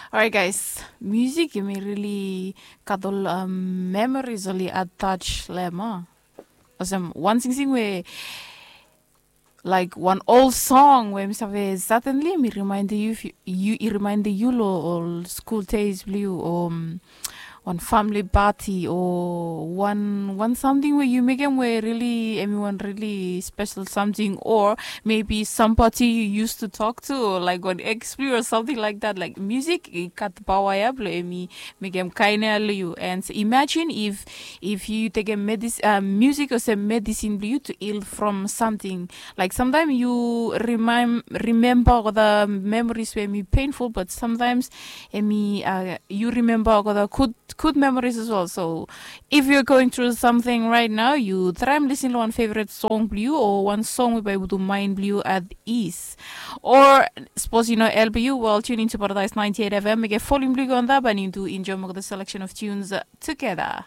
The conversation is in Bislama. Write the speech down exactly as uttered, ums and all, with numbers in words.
Orait guys, musik yumi rili gat ol memoris oli attach long em a. Olsem wan singsing we laik wan ol song we mi save satenli mi rimaindim yu yu i rimaindim yu long ol skul des bilong yu o wan famili pati o wan wan samting we yu mekim we rili em i wan rili spesel samting o mebi sampati yu yus tu tok tu o laik wan eks bilong yu o samting laik dat laik musik i gat paoa ya bilong em i mekim kain ya long yu. And imajin if if yu tekim medis musik olsem medisin bilong yu tu hil from samting laik samtaim yu rimaim rimemba olgeta memoris we em i painful bat samtaims em i yu rimemba olgeta gud gud memoris as well. So if you're going through something right now yu traim lisin long wan favorit song bilong yu o wan song we bai putum main bilong yu at ease. Or sapos yu no el bilong yu well tune into paradise ninety eight fm mekim folim bilong yu go on that and yu do enjoy olgeta selection of tunes together.